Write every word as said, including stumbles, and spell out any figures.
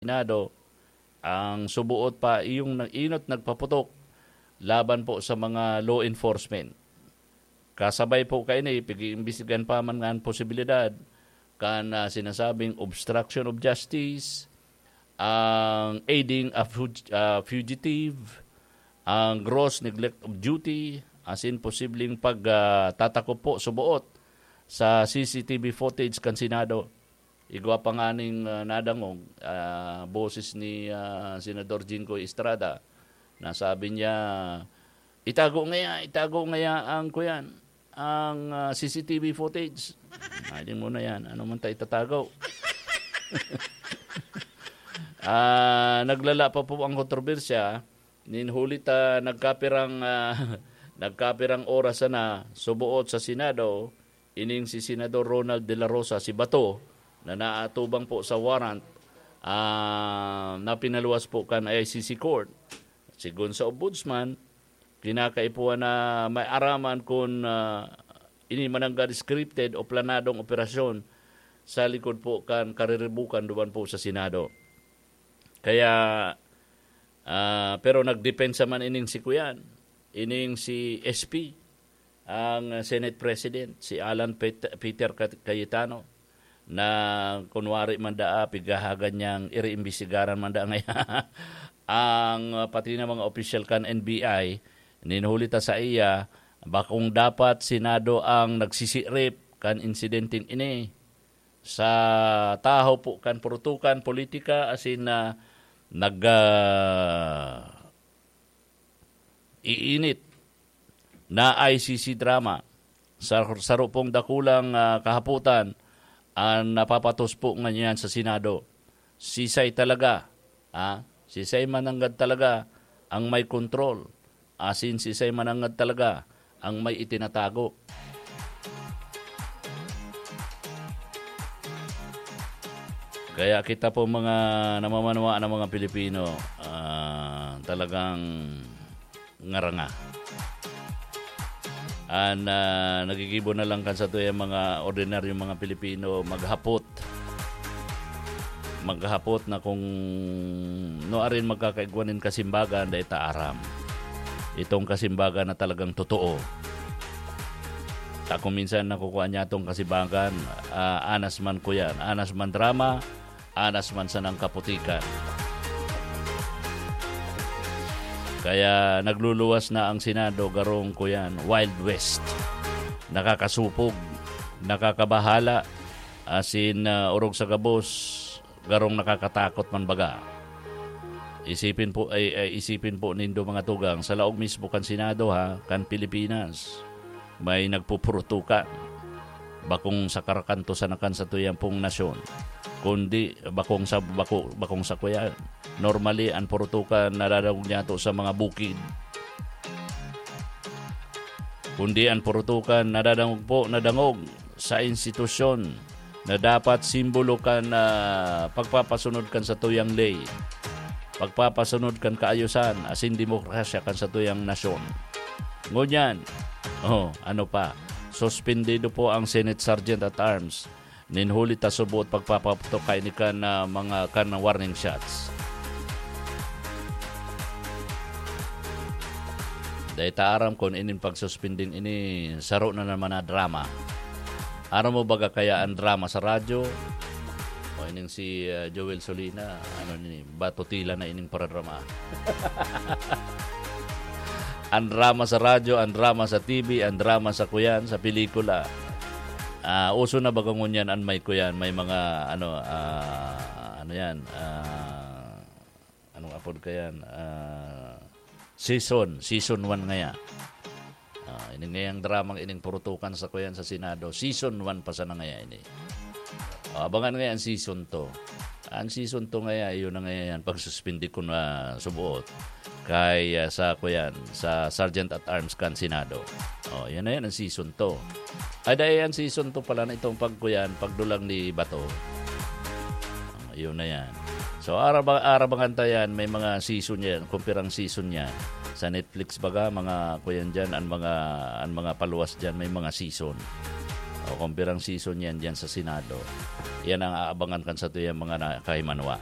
Senado, ang subuot pa iyong nag-inot nagpaputok laban po sa mga law enforcement. Kasabay po kaini, pag-iimbestigahan pa man nga ang posibilidad kan, ah, sinasabing obstruction of justice, ang aiding a fug-, ah, fugitive, ang gross neglect of duty, as in posibleng pag, ah, tatakop po subuot sa C C T V footage kan Senado. Igwa pa nganing, ah, nadangog, ah, boses ni, ah, Senador Jinggoy Estrada na sabi niya, "Itago ngaya, itago ngaya ang kuyan, ang, ah, C C T V footage." Ay, di mo na yan. Ano man ta itatago? Ah, naglala pa po ang kontrobersya. Nin huli ta nagkapirang, ah, nagkapirang oras sana, subuot sa Senado, ining si Senador Ronald De La Rosa, si Bato, na naatubang po sa warrant, ah, na pinaluwas po kan I C C Court. Sigon sa Ombudsman, kinakaipuhan na may araman kun, ah, ini mananggad scripted o planadong operasyon sa likod po kan kariribukan duman po sa Senado. Kaya, ah, pero nagdepensa man ining si kuyan, ining si S P, ang Senate President, si Alan Pet-, Peter Cat-, Cayetano, na kunwari man daa, pigahagan niyang iriimbestigaran man daa ngaya ang, ah, pati na mga opisyal kan N B I, ninhuli ta sa iya, bakong dapat Senado ang nagsisirip kan insidenteng ini. Sa tahaw po kan purutukan, politika, asin na nag, ah, iinit na I C C drama. Sa, saro pong dakulang, ah, kahapotan an napapatos po ngunyan sa Senado. Sisay talaga, ah, sisay mananggad talaga ang may kontrol, asin sisay mananggad talaga ang may itinatago. Kaya kita po mga namamanwa ng mga Pilipino, ah, talagang ngaranga. An, ah, nagigibo na lang kan satuyang mga ordinaryong mga Pilipino maghapot. Maghapot na kung nuarin magkakaigwa nin kasimbagan, dai ta aram. Itong kasimbagan na talagang totoo. Ta kung minsan nakukuha niya itong kasimbagan, ah, anas man kuyan, anas man drama, anas man sanang kaputikan. Kaya nagluluwas na ang Senado, garong kuyan, Wild West. Nakakasupog, nakakabahala, asin, ah, orog sa gabos, garong nakakatakot man baga. Isipin po, ay, ay, isipin po nindo, mga tugang, sa laog mismo kan Senado, ha, kan Pilipinas, may nagpupurutukan. Bakong sa karakanto sana kan satuyang pong nasyon, kundi bakong sa, bako-, bakong sa kuya. Normally, ang purutukan nadadangog niyato sa mga bukid. Kundi ang purutukan nadadangog po, nadangog sa institusyon na dapat simbolo kan, ah, pagpapasunod kan satuyang ley, pagpapasunod kan kaayusan asin demokrasya kan satuyang nasyon. Ngunyan, oh, ano pa, suspendido po ang Senate Sergeant at Arms nin huli ta suboot pagpapaputok kaini kan, ah, mga kan warning shots. Dai ta aram kun inin pagsuspending ini saro na naman na drama. Aram mo baga kaya ang drama sa radyo? O ining si, ah, Joel Solina, ano ni, batutila na ining paradrama. Ang drama sa radyo, ang drama sa T V, ang drama sa kuyan, sa pelikula. Ah, uso na baga ngunyan an may kuyan, may mga ano, ah, ano yan, ah, anong apod kayan? Ah, season, season one ngaya. Ah, ini ngayang dramang ining purutukan sa kuyan sa Senado, season one pa sana ngaya ini. Ah, abangan ngaya ang season two. Ang season two ngaya, iyon na ngaya yan, pagsuspindi ko na subuot kay, ah, sa kuyan, sa Sergeant at Arms kan Senado. Oh, yan na yan ang season two. Ay, dahil ang season two pala na itong pagkuyan, pagdulang ni Bato. Oh, yun na yan. So, araba-, arabangan ta yan, may mga season yan, kumpirang season yan. Sa Netflix baga, mga kuyan dyan, ang mga, ang mga paluwas dyan, may mga season. O, kumpirang season yan dyan sa Senado. Yan ang aabangan kan satuyang mga na-, kahimanwa.